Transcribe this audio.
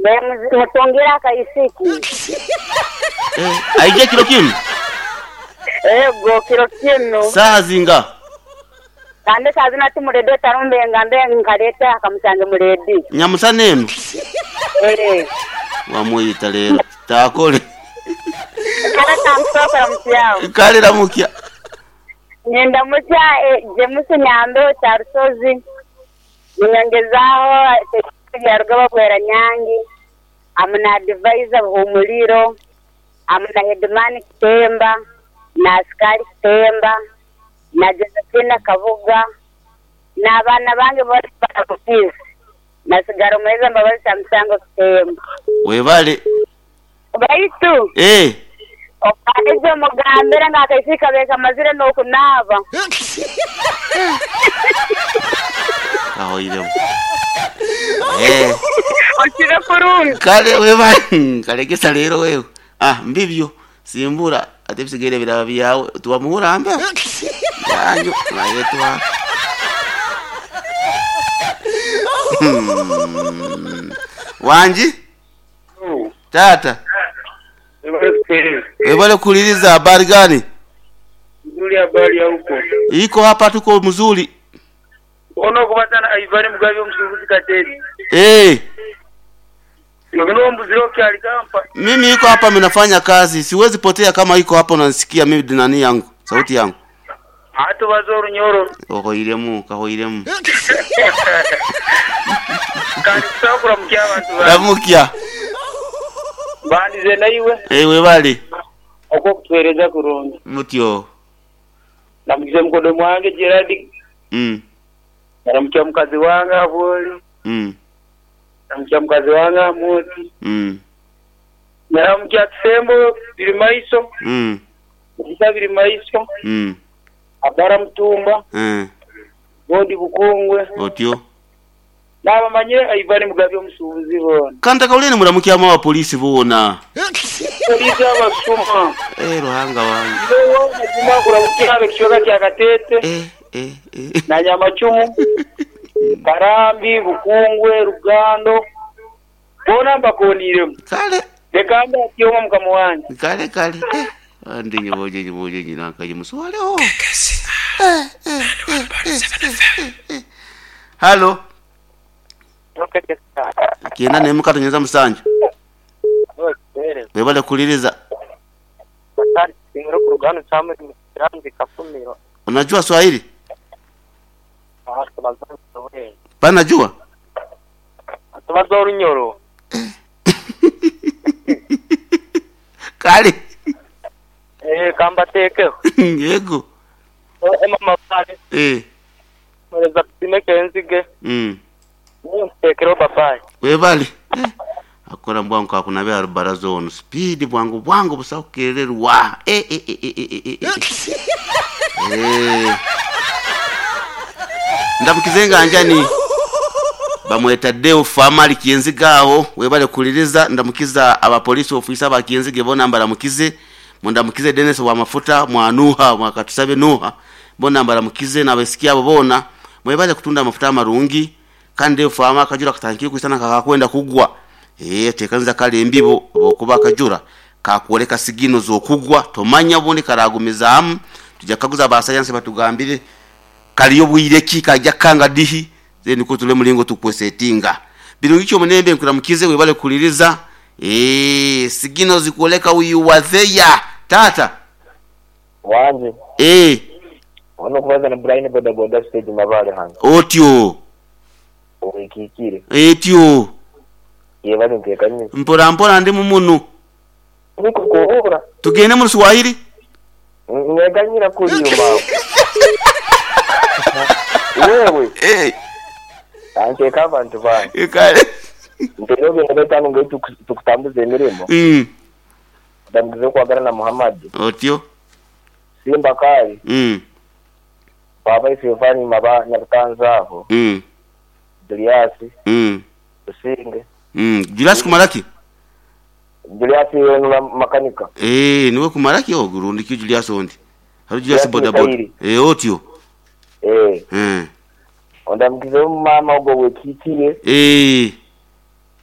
Mutungire akaisiki. Eh, aije kiro kinu? Ego, kiro kinu. Saaha zinga? Kandi saaha zino ati mu leediyo tarumbe ngambe nkaleete akamusange mu leediyo. Nyamusana eno? Eeh. Wamwita leero taakole. Kale kankusooke ramutsyaho. Kale ramukya. Nindamukya James Nyambeho Kyarusozi, ninyongezaaho Byarugaba Bweranyangi, hamu na Advisor Buhumuliro, hamu na Headman Kitemba, na Askari Kitemba, na Josephine Kabuga, n'abaana bange boona mbaramukize. Nasigara omuheereza Mbabazi Kyamusango Kitemba. Webale. Baitu Eh. omwahezi omugambire ngu akaisiki kabaire kamazire n'okunaaba. Kahoiremu. Eh. Okire kurungi. Kale webale. Kalegesa leero wewe. Ah, mbibyo. Simbura ate ebisigaire biraba byawe. Tiwamuhura mbeho. Yanjo nayetwara. Wangi? Taata. Webale kuhuliriza habari gani? Nzuri habari ya huko. Iko hapa tuko mzuri. Ono okubaza na Ivan Mugabi omusubuzi Katete. Eh. Nogenda ombuzire okyali kampa. Mimi iko hapa minafanya kazi, siwezi potea kama iko hapa unanisikia mimi nani yangu, sauti yangu. Atubaza orunyoro. Ohoiremu, kahoiremu. Kandi kusaba kuramukya abantu bange. Ramukya. Mbandize naiwe. Eh, webale. Okw'okutuheereza kurungi. Mutyo. Ndamukize mukodo mwange Gerald. Ndaramukya mukazi wange Abwoli. Ndaramukya mukazi wange Amooti. Ndaramukya Kisembo Birimaiso. Mugisha Birimaiso. Abara Mutumba. Godi Bukungwe. Otyo. N'abamanyire Ivan Mugabi omusuubuzi boona. Kantaka uleni muramukyamu abapoliisi boona. Poliisi abasuma. Eh, Ruhanga wange. Iwe mazima kuramukya ab'ekicweka kya Kateete. Eh, eh, eh. Na Nyamacumu, Karambi, Bukungwe, Rugando boona mbakooniiremu. Kale. Leka mbe atyoma mukama wange. Kale kale. Eh. Andi nyiboje nyiboje nyinankaje muswaleho. Eh, eh, eh, eh, eh, eh. Halo. Kyenda n'emu katonyeza musanju. Webale kuhuliriza. Unajua Swahili? Panajua? Tubaza orunyoro. Kale. Eh, kambateekeho. Yego. Emma Mabale. Eh. Mwereza tusime Kenzige. Nteekereho babayi. Webale. Eh. Akora mbwangu kakunabya rubaraza ono speed bwangu bwangu busa kukererwa. Eh eh eh eh eh eh. Eh. Ndamukize nga njani bamweta Deo Famali Kienziga aho webale kuliriza. Ndamukiza abapolisi ofisa ba Kienzige bona mbaramukize. Mundamukize Dennis wa mafuta mwanuha mwakatusabe nuha bona mbaramukize nabesikia abo bona mwebale kutunda amafuta amarungi kandi Deo Fama akajura katankiye kwisana kakakwenda kugwa. Eh, tekanza kale embibo okuba akajura kakwoleka sigino zokugwa tomanya bundi karagumizaamu. Tujja kaguza ba science batugambire kaliyo bwire ki kajja kanga dihi ze niko tule mulingo tukwesetinga birungi kyo munembe nkuramukize webale kuliriza. Eh, sigino zikuoleka uyu watheya tata wanje. Eh, ono kubaza na Brian boda boda stage mabale hano. Otyo. Oikikire. Etyo. Yebale ntekanye. Mpora mpora ndi mumunu. Niko kuhura. Tugende mu Swahili. Neganyira kuri yuma. Wewe. Eh. Anteka abantu bange. Kale. Nterobe nabetano ngetu tukutambuza emirimo. Ndamugize kwagala na Muhammad. Otyo. Simba kali. Baba Isifani maba nyabutanzaho. Julius. Usinge. Julius kumaraki? Julius yenu makanika. Eh, niwe kumaraki ogurundi ki Julius ondi. Haru Julius boda boda. Eh, otyo. Eh. Ondamugize mama ogo wekikire. Eh.